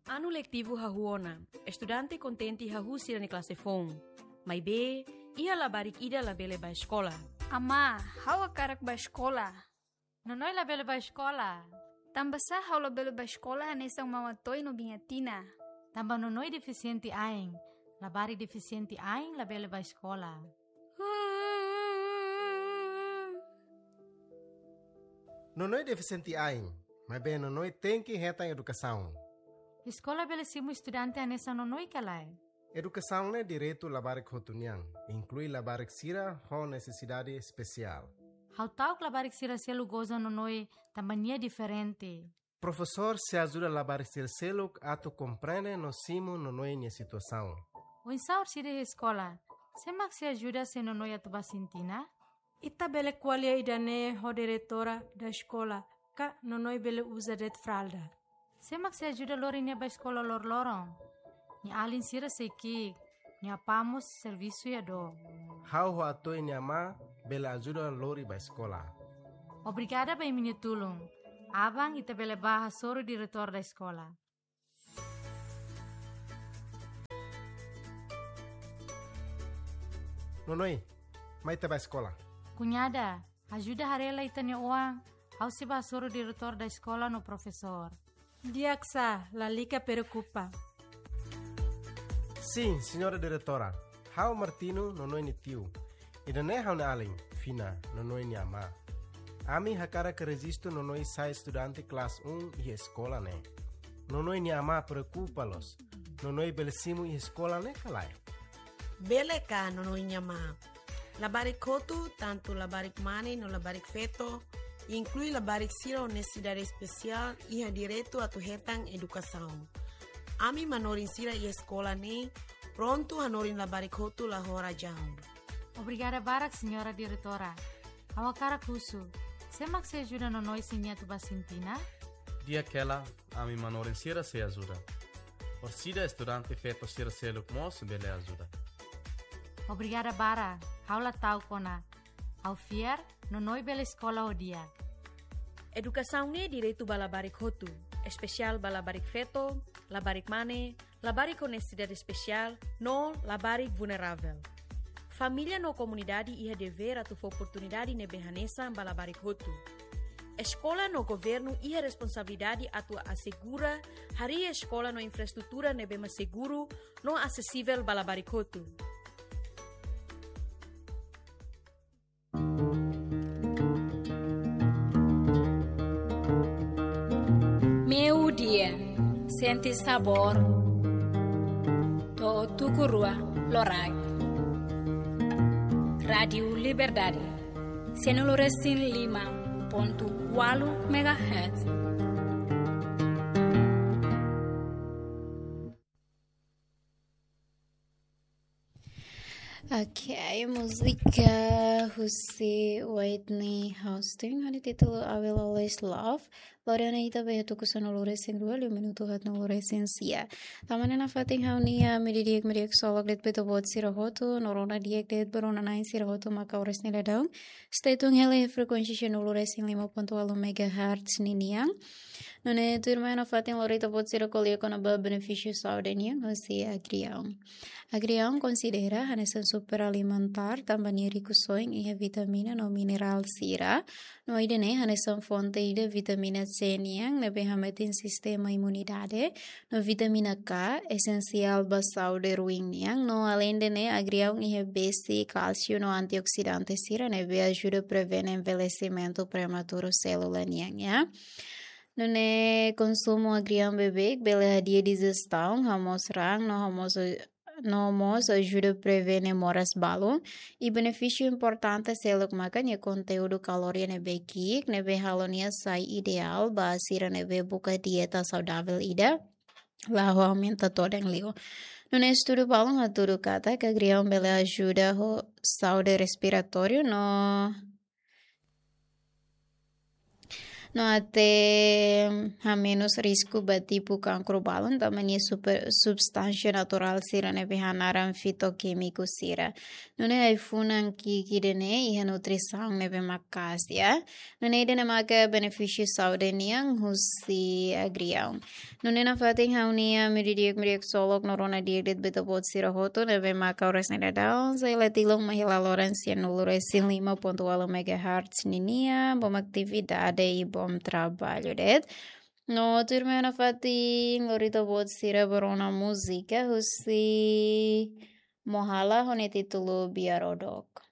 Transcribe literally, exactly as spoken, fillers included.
Anu letivu hahú ona, estudante kontente hahú sira-nia klase foun. Maibé, iha labarik ida labele bá eskola. Amá, ha'u hakarak bá eskola. Nonoi labele bá eskola. Tanbasá ha'u labele bá eskola hanesan Maun Atoi no Biin Atina? Tanba Nonoi defisiente ain. Labarik defisiente ain labele bá eskola. Nonoi defisiente ain, maibé Nonoi tenke hetan edukasaun. Eskola bele simu estudante hanesan Nonoi ka lae? Edukasaun ne'e direitu labarik hotu nian, inklui labarik sira ho nesesidade espesiál. Ha'u ta'uk labarik sira seluk goza Nonoi tanba nia diferente. Profesór sei ajuda labarik sira seluk atu komprende no simu Nonoi nia situasaun. Oinsá orsida iha eskola? Sé mak sei ajuda se Nonoi atu bá sintina? Ita bele ko'alia ida-ne'e ho diretora da eskola, ka Nonoi bele uza de'it fralda. Sé mak sei ajuda lori nia bá eskola loroloron? Nia alin sira sei ki'ik, nia apá mós servisu iha dook. Ha'u ho Atoi nia amá bele ajuda lori bá eskola. Obrigada ba imi-nia tulun. Aban ita bele bá hasoru diretór da eskola. Nonoi, mai ita bá eskola. Kuñada, ajuda haree lai ita-nia oan, ha'u sei bá hasoru diretór da eskola no profesór. Di'ak sá, lalika preokupa. Sin, señora diretora. Ha'u Martino, Nonoi nia tiu. Ida-ne'e ha'u-nia alin, Fina, Nonoi nia amá. Ami hakarak rejistu Nonoi sai estudante klase um iha eskola ne'e. Nonoi nia amá preokupa loos. Nonoi bele simu iha eskola ne'e ka lae? Bele ka, Nonoi nia amá. Labarik hotu, tantu labarik mane no labarik feto, inklui labarik sira ho nesesidade espesiál, iha direitu atu hetan edukasaun. Ami manorin sira iha eskola ne'e prontu hanorin labarik hotu la ho razaun. Obrigada barak, señora diretora. Ha'u hakarak husu, sé mak sei ajuda Nonoi se nia atu bá sintina? Di'ak hela, ami manorin sira sei ajuda. Orsida estudante feto sira seluk mós bele ajuda. Obrigada barak, ha'u la ta'uk ona. Ha'u fiar, Nonoi bele eskola ho di'ak. Edukasaun ne'e direitu ba labarik hotu, espesiál ba labarik feto, labarik mane, labarik ho nesesidade espesiál, no labarik vulneravel. Família no komunidade iha devér atu fó oportunidade ne'ebé hanesan ba labarik hotu. Eskola no governu iha responsabilidade atu asegura harii eskola no infraestrutura ne'ebé mak seguru no asesivel ba labarik hotu. Meiudia, sente sabór to'o tuku rua loraik. Rádiu Liberdade, sanulu resin lima pontu ualu megahertz. Ok, múzika husi Whitney Houston, ho nia títulu I Will Always Love. Lori ona ita ba iha tuku sanulu resin rua, liu minutu haatnulu resin sia. Tanba ne'e nafatin ha'u-nia ami di'ak, ami di'ak solok de'it ba ita-boot sira hotu, no rona di'ak de'it ba rona-na'in sira hotu mak oras ne'e daudaun. Stay tune hela iha frekuénsia sanulu resin lima pontu ualu megahertz ninian. Nune'e tuirmai nafatin lori ita-boot sira ko'alia kona-ba benefísiu saúde nian husi agriaun. Agriaun konsidera hanesan superalimentár tanba nia riku soin iha vitamina no minerál sira. No ida-ne'e hanesan fonte ida vitamina C nian ne'ebé hametin sistema imunidade. No vitamina K esensiál ba saúde ruin nian. No aleinde ne'e agriaun iha besi, kálsiu no antioksidante sira ne'ebé ajuda prevene envelhesimentu prematuru sélula nian, ya. Nune'e konsumu agriaun beibeik bele hadi'a dijistaun, hamoos raan, no hamoos, no mós ajuda prevene moras balun. I benefísiu importante seluk maka nia konteúdu kalória ne'ebé ki'ik, ne'ebé halo nia sai ideál ba sira ne'ebé buka dieta saudavel ida la'o aumenta todan liu. Nune'e estudu balun hatudu katak agriaun bele ajuda ho saúde respiratóriu no No atu hamenus risku ba tipu kankru balun, tanba nia super, substánsia naturál sira ne'ebé hanaran fitokémiku sira. Nune'e ai-funan ki'ik ida-ne'e iha nutrisaun ne'ebé maka'as, ya. Nune'e ida-ne'e maka benefísiu saúde nian husi agriaun. Nune'e nafatin ha'u-nia mídia di'ak, mídia ksolok no rona di'ak de'it ba ita-boot sira hotu ne'ebé maka oras ne'e daudaun, sei la tilun mai hela loron sianulu resin lima pontu ualu megahertz ninian, bom atividade i bom traballu de'it. No tuirmai nafatin lori ita-boot sira ba rona múzika husi Mohala ho nia títulu Biar Odok.